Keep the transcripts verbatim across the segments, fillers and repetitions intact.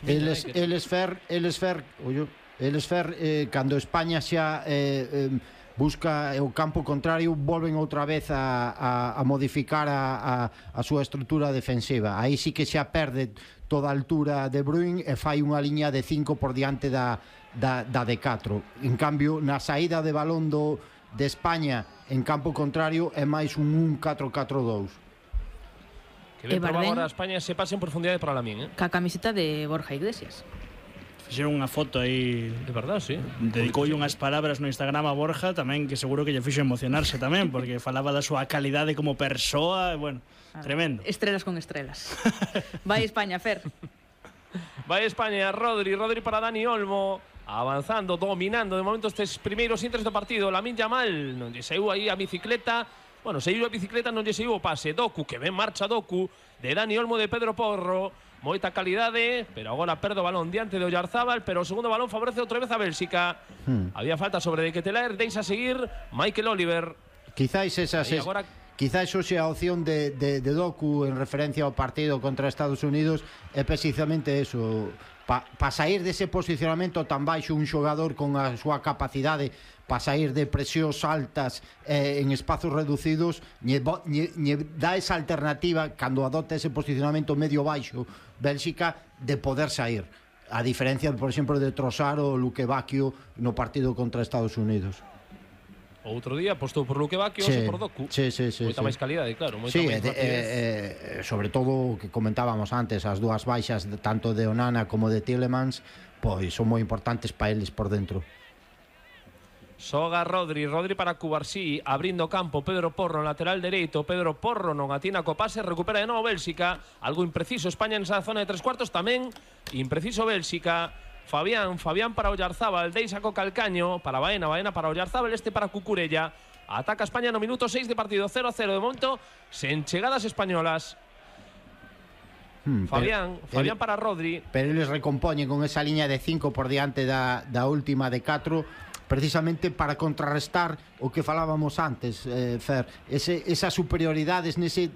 Eles, eles fer, eles fer, ollo, eles fer eh, cando España xa eh, eh, busca o campo contrario, volven outra vez a, a, a modificar a, a, a súa estrutura defensiva. Aí sí que xa perde toda a altura de Bruyne e fai unha liña de cinco por diante da, da, da de catro. En cambio, na saída de balón do, de España en campo contrario é máis un un catro catro dous. Que ben probar agora a España se pase en profundidade para Lamín, eh? Ca camiseta de Borja Iglesias. Fixeron unha foto aí, de verdade, sí. Dedicoulle unhas palabras no Instagram a Borja tamén, que seguro que lle fixo emocionarse tamén, porque falaba da súa calidade como persoa, e, bueno, ah, tremendo. Estrelas con estrelas. Vai España, Fer. Vai España, Rodri, Rodri para Dani Olmo, avanzando, dominando de momento estes primeiros intres do partido. Lamín Yamal non lle saiu aí a bicicleta. Bueno, saiu a bicicleta, non lle saiu o pase. Doku, que ben marcha Doku, de Dani Olmo, de Pedro Porro. Moita calidade, pero agora perde o balón diante de Oyarzábal, pero o segundo balón favorece outra vez a Bélxica. Hmm. Había falta sobre de Ketelaere, deixa seguir Michael Oliver. Quizáis esas es, agora... Quizáis hoxe a opción de, de, de Doku en referencia ao partido contra Estados Unidos é precisamente eso. Pa, pa sair dese posicionamento tan baixo, un xogador con a súa capacidade para sair de presións altas eh, en espazos reducidos, lle, lle, lle dá esa alternativa cando adopta ese posicionamento medio baixo Bélxica de poder sair, a diferencia, por exemplo, de Trossard ou Luque Bacchio no partido contra Estados Unidos. Outro día apostou por Luque Bacchio, sí, ou por Doku. Sí, sí, sí, moita sí. máis calidade, claro, moita sí, máis de, eh, eh, sobre todo o que comentábamos antes, as dúas baixas de, tanto de Onana como de Tielemans, pois son moi importantes para eles por dentro. Soga Rodri, Rodri para Cubarsí, abrindo campo, Pedro Porro, lateral dereito, Pedro Porro non atina co pase, recupera de novo Bélxica, algo impreciso España en esa zona de tres cuartos, tamén impreciso Bélxica. Fabián, Fabián para Oyarzábal, deixa co calcaño para Baena, Baena para Oyarzábal, este para Cucurella. Ataca España no minuto seis de partido, cero a cero de momento, sen chegadas españolas. Hmm, Fabián, pero, Fabián para Rodri. Pero eles recompoñen con esa liña de cinco por diante da, da última de catro, precisamente para contrarrestar o que falábamos antes, eh, Fer, ese, esas superioridades nese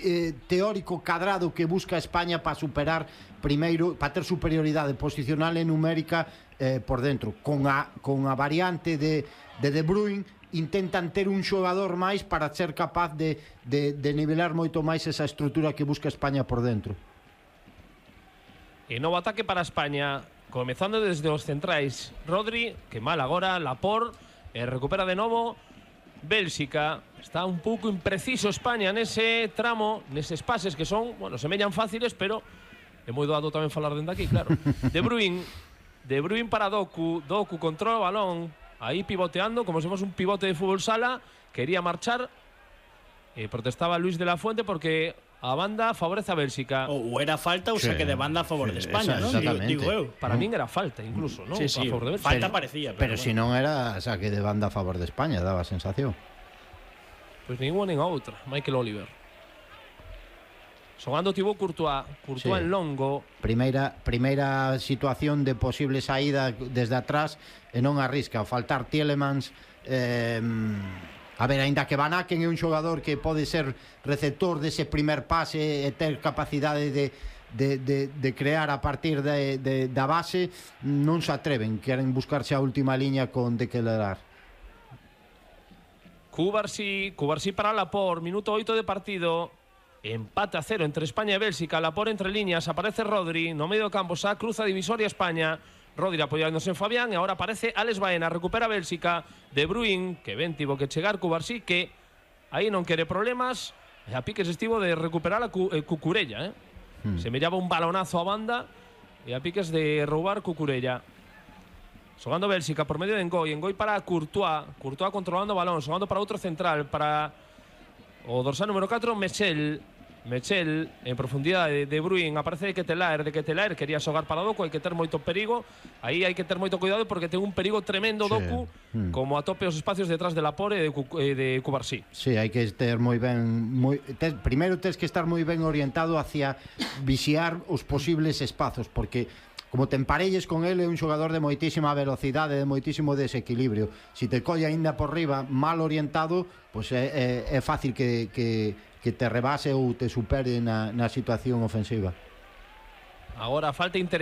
eh, teórico cadrado que busca España para superar primeiro, para ter superioridade posicional e numérica eh, por dentro, con a, con a variante de, de De Bruyne intentan ter un xogador máis para ser capaz de, de, de nivelar moito máis esa estrutura que busca España por dentro. E novo ataque para España, comezando desde os centrais. Rodri, que mal agora, Laporte, e recupera de novo Bélxica. Está un pouco impreciso España nese tramo, neses pases que son, bueno, semellan fáciles, pero é moi doado tamén falar dende aquí, claro. De Bruyne, De Bruyne para Doku, Doku controla o balón, aí pivoteando, como se fose un pivote de fútbol sala, quería marchar, e protestaba Luis de la Fuente porque a banda favorece a Bélxica. Ou era falta ou sí, saque de banda a favor sí, de España, non? Digo, digo eu. Para min era falta, incluso, non? Sí, sí, a favor de Bélxica. falta parecía. Pero, pero bueno. si non era saque de banda a favor de España, daba a sensación. Pois pues ninguna nin a outra, Michael Oliver. Xogando Thibaut Courtois, Courtois sí. en longo. Primeira, primeira situación de posible saída desde atrás e non arrisca. Ao faltar Tielemans, eh, a ver, aínda que Van Aken é un xogador que pode ser receptor dese primer pase e ter capacidade de, de, de, de crear a partir de, de, da base, non se atreven, queren buscarse a última liña con De Ketelaere. Cubarsí, Cubarsí para Laporte, minuto oito de partido. Empate a cero entre España e Bélxica. Laporte entre líneas, aparece Rodri no medio do campo, xa cruza divisoria España. Rodri apoyándose en Fabián e agora aparece Alex Baena, recupera Bélxica. De Bruyne, que ben tivo que chegar Cubarsí, que aí non quere problemas, e a piques estivo de recuperar a Cu eh, Cucurella, eh? hmm. Se mellaba un balonazo a banda e a piques de roubar Cucurella. Xogando Bélxica por medio de Ngoi, Ngoi para Courtois, Courtois controlando o balón, xogando para outro central, para o dorsal número catro, Mechel. Mechel en profundidade. De Bruyne, aparece De Ketelaere, De Ketelaere quería xogar para Doku, hai que ter moito perigo, aí hai que ter moito cuidado porque ten un perigo tremendo sí. Doku, mm. como atope os espacios detrás de Laporte e de, de Cubarsí. Sí, hai que ter moi ben moi, ter, primeiro tens que estar moi ben orientado hacia vixiar os posibles espazos, porque como te emparelles con ele é un xogador de moitísima velocidade, de moitísimo desequilibrio. Si te colle aínda por riba mal orientado, pois é, é, é fácil que, que, que te rebase ou te supere na, na situación ofensiva. Agora falta interesante.